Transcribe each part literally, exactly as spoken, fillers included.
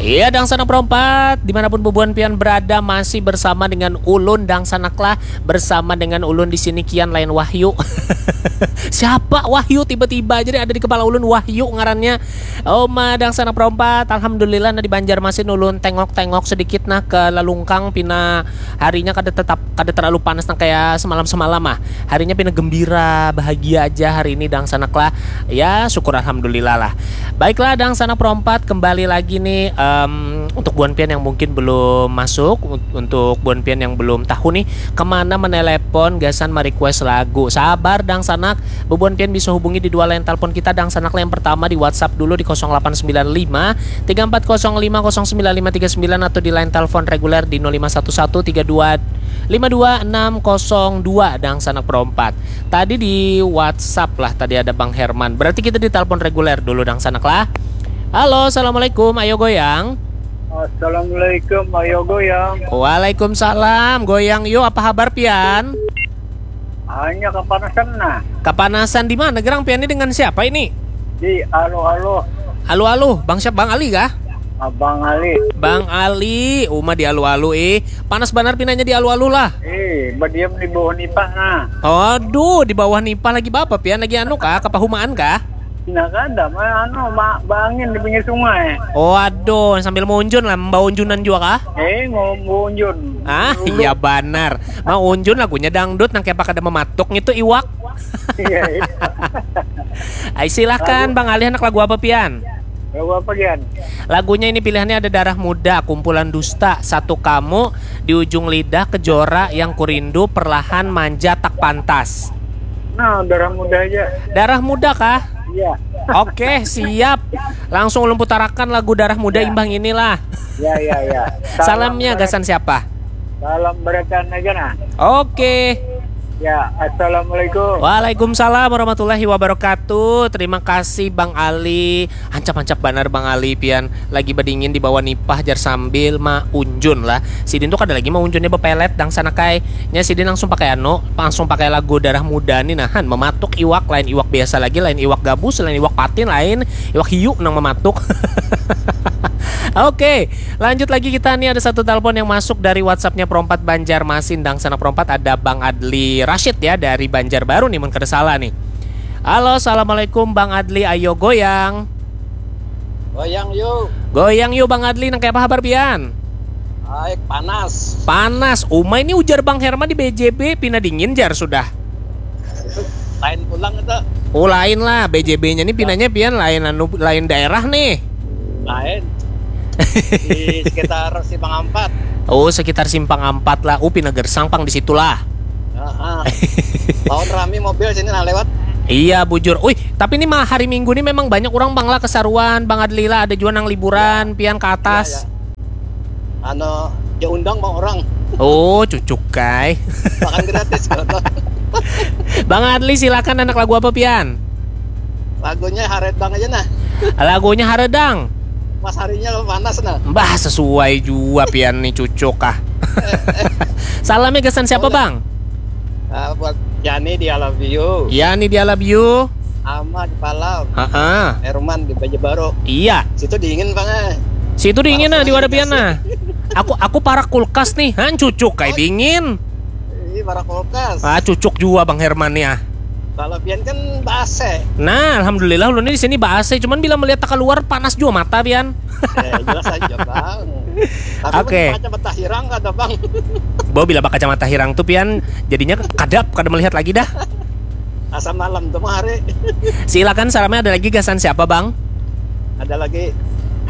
Iya, dangsanak perompat, dimanapun bubuhan pian berada, masih bersama dengan ulun, dangsanak lah, bersama dengan ulun di sini, Kian lain Wahyu. Siapa Wahyu? Tiba-tiba aja ada di kepala ulun, Wahyu ngarannya. Oma, dangsanak perompat, alhamdulillah, nah, di Banjarmasin ulun tengok-tengok sedikit, nah, ke lalungkang, pina harinya kada tetap, kada terlalu panas nang kayak semalam-semalam, ah. Harinya pina gembira, bahagia aja hari ini, dangsanak lah. Ya, syukur alhamdulillah lah. Baiklah, dangsanak perompat, kembali lagi nih, em, untuk buan pian yang mungkin belum masuk, un-, untuk buan pian yang belum tahu nih kemana menelepon gasan merequest lagu. Sabar, dangsanak, bubuhan pian bisa hubungi di dua line telepon kita, dangsanak lah. Yang pertama di WhatsApp dulu di kosong delapan sembilan lima tiga empat kosong lima kosong sembilan lima tiga sembilan atau di line telepon reguler di nol lima satu satu tiga dua lima dua enam kosong dua, dangsanak perompat. Tadi di WhatsApp lah, tadi ada Bang Herman. Berarti kita di telepon reguler dulu, dangsanak lah. Halo, assalamualaikum. Ayo goyang. Assalamualaikum, ayo goyang. Waalaikumsalam. Goyang yo, apa habar pian? Hanya kepanasan nah. Kepanasan di mana gerang pian ini, dengan siapa ini? Di alu-alu. Alu-alu, Bang siapa? Bang Ali kah? Abang Ali. Bang Ali, uma di alu-alu, eh. Panas banar pinanya di alu-alu lah. Eh, badiam di bawah nipah nah. Aduh, di bawah nipah lagi bapa pian, lagi anu kah, kepahumaan kah? Nah, kada, ma-, anu, ma-, baangin di pinggir sungai. Oh, aduh, sambil maunjun lah, membawa unjunan juga kah? Eh, mau maunjun. Ah, iya banar. Mau unjun lagunya dangdut, nang kayak kada mematuk ngitu iwak. Iya, iya. Ay, silahkan, Bang Ali, anak lagu apa pian? Lagu apa, Gian? Lagunya ini pilihannya ada Darah Muda, Kumpulan Dusta, Satu Kamu, Di Ujung Lidah, Kejora, Yang Kurindu, Perlahan, Manja, Tak Pantas. Nah, Darah Muda aja. Darah Muda kah? Iya. Oke, siap. Langsung ulun putarakan lagu Darah Muda. Ya. Imbang inilah. Ya, ya, ya. Salamnya gasan siapa? Salam barataan aja nah. Oke. Ya, assalamualaikum. Waalaikumsalam warahmatullahi wabarakatuh. Terima kasih, Bang Ali. Hancap-hancap banar, Bang Ali, pian lagi bedingin di bawah nipah jar sambil maunjun lah. Sidin tuh kada lagi maunjunnya bepelet, dangsanak ai. Nya sidin langsung pakai anu, langsung pakai lagu Darah Muda nih, nahan mematuk iwak, lain iwak biasa lagi, lain iwak gabus, lain iwak patin, lain iwak hiu nang mematuk. Oke, lanjut lagi kita nih, ada satu telepon yang masuk dari WhatsAppnya Perompat Banjarmasin, dangsanak Perompat, ada Bang Adli Rashid ya dari Banjarbaru nih, mun kada salah nih. Halo, assalamualaikum Bang Adli, ayo goyang. Goyang yuk. Goyang yuk Bang Adli, nang kaya apa habar pian? Baik, panas. Panas. Uma ini ujar Bang Herman di B J B, pina dingin jar sudah. Lain pulang itu. Oh, lain lah, B J B-nya nih pinanya pian lain anu, lain daerah nih. Lain. Di sekitar Simpang Ampat. Oh, sekitar Simpang Ampat lah. Oh, pina gersang pang di situ lah. Heeh. Lawan rami mobil sini nah lewat. Iya, bujur. Uih, tapi ini mah hari Minggu nih memang banyak orang pang lah kesaruan, Bang Adli lah, ada juga nang liburan, pian ke atas. Iya, iya. Anu, dia undang bang orang. Oh, cucuk kai. Makan gratis kalau tuh. Bang Adli, silakan, anak lagu apa pian? Lagunya Haredang aja nah. Lagunya Haredang. Pas harinya lo panas nah. Bah, sesuai jua pian nih, cucuk ah. Salamnya gasan siapa, Bang? Ah, buat Yani di I love you. Yani di I love you. Ama di Palau. Heeh. Herman di Banjarbaru. Iya. Situ dingin, Bang, eh. Situ dingin nah, di wadah pian nah. Aku, aku parak kulkas nih. Han, cucuk kai dingin. Ih, parak kulkas. Ah, cucuk jua Bang Herman nih ah. Kalau pian kan ba-A C. Nah, alhamdulillah ulun ini di sini ba-A C, cuman bila melihat tak keluar panas jua mata pian. Eh, jelas aja, Bang. Tapi oke. Kacamata hirang kada, Bang? Bo, bila bakacamata hirang tuh pian jadinya kadap, kada melihat lagi dah. Asa malam tuh mah hari. Silakan, salamnya ada lagi gasan siapa, Bang? Ada lagi.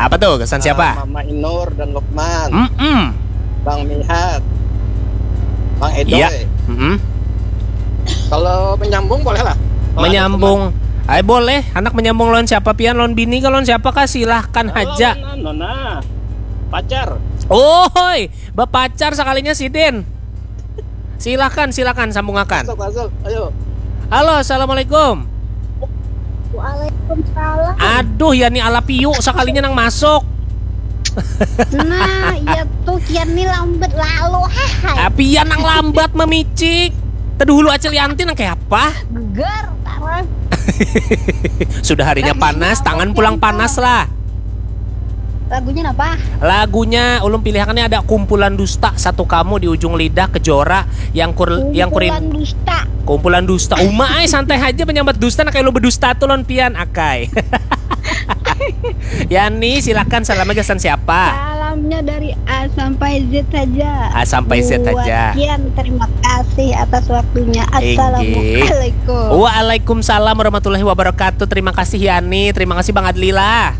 Apa tuh? Gasan siapa? Ah, Mama Inur dan Lukman. Mm-mm. Bang Mihat. Bang Edoy. Iya. Mm-mm. Kalau menyambung boleh lah. Kalau ada menyambung. Ay, boleh. Anak menyambung lawan siapa pian? Lawan bini kah, lawan siapa kah? Silahkan aja. Lawan anu nah. Pacar. Oi, bapacar sakalinya sidin. Silakan, silakan, sambungakan. Masuk, masuk. Ayo. Halo, assalamualaikum. Waalaikumsalam. Aduh, ya nih ala piu sakalinya nang masuk. Nah, ya tuh kian nih lambat lalu. Hahai. Ah, pian nang lambat memicik. Tadi hulu Acil Yanti nang kayak apa? Geger, tarang. Sudah harinya panas, tangan pulang panas lah. Lagunya apa? Lagunya ulun pilihannya ada Kumpulan Dusta, Satu Kamu, Di Ujung Lidah, Kejora, yang kur yang kurin Kumpulan dusta. Kumpulan Dusta. Uma ai, santai aja menyambat dusta, nah kayak lu berdusta tuh lon pian akai. Yani, silakan, salamnya gasan siapa? Salamnya dari A sampai Z saja. A sampai Z Buat saja. Kian, terima kasih atas waktunya. Inggih. Assalamualaikum. Waalaikumsalam warahmatullahi wabarakatuh. Terima kasih Yani, terima kasih Bang Adli lah.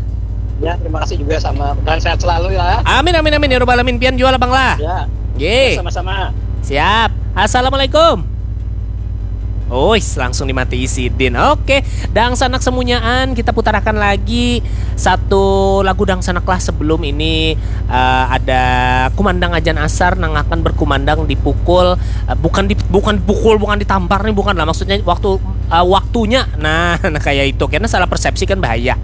Ya, terima kasih juga sama dan sehat selalu ya. Amin amin amin ya robbal alamin, pian jua lah Bang lah. Ya, Nggih. Sama-sama. Siap. Assalamualaikum. Uis, langsung dimati isidin. Oke, dangsanak semunyaan, kita putarakan lagi satu lagu dangsanak lah sebelum ini eh, ada kumandang ajan asar nang akan berkumandang di pukul eh, bukan di bukan pukul bukan ditampar nih, bukan lah, maksudnya waktu eh, waktunya. Nah, nah kayak itu karena salah persepsi kan bahaya.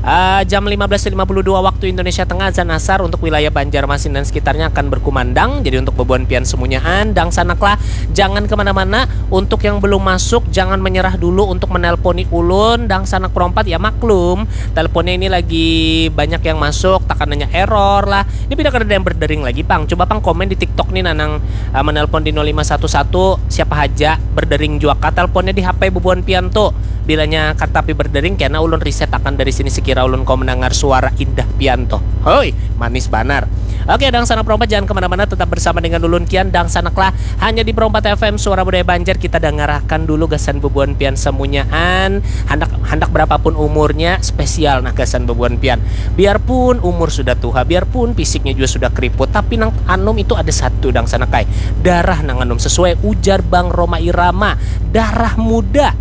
Eh, jam lima belas lima puluh dua waktu Indonesia Tengah, azan asar untuk wilayah Banjarmasin dan sekitarnya akan berkumandang. Jadi untuk bebuan pian semunyaan, dangsanaklah, jangan kemana-mana. Untuk yang belum masuk, jangan menyerah dulu untuk menelponi ulun, dangsanak perompat ya maklum. Teleponnya ini lagi banyak yang masuk, takananya error lah. Ini pindah kada ada yang berdering lagi pang. Coba pang komen di TikTok nih nanang uh, menelpon di nol lima satu satu, siapa haja berdering jua kah teleponnya di H P bebuan pian tuh. Bilanya katapi berdering, kena ulun reset akan dari sini sekira ulun kau mendengar suara indah pian tuh. Hoi, manis banar. Oke, dangsanak perompat, jangan kemana-mana, tetap bersama dengan ulun Kian, dangsanaklah hanya di Perompat F M, suara budaya Banjar. Kita dangarakan dulu gasan bebuan pian semunyaan. Handak handak berapapun umurnya, spesial nah gasan bebuan pian. Biarpun umur sudah tuha, biarpun fisiknya juga sudah keriput, tapi nang anum itu ada satu, dangsanak ai. Darah nang anum, sesuai ujar Bang Rhoma Irama, darah muda.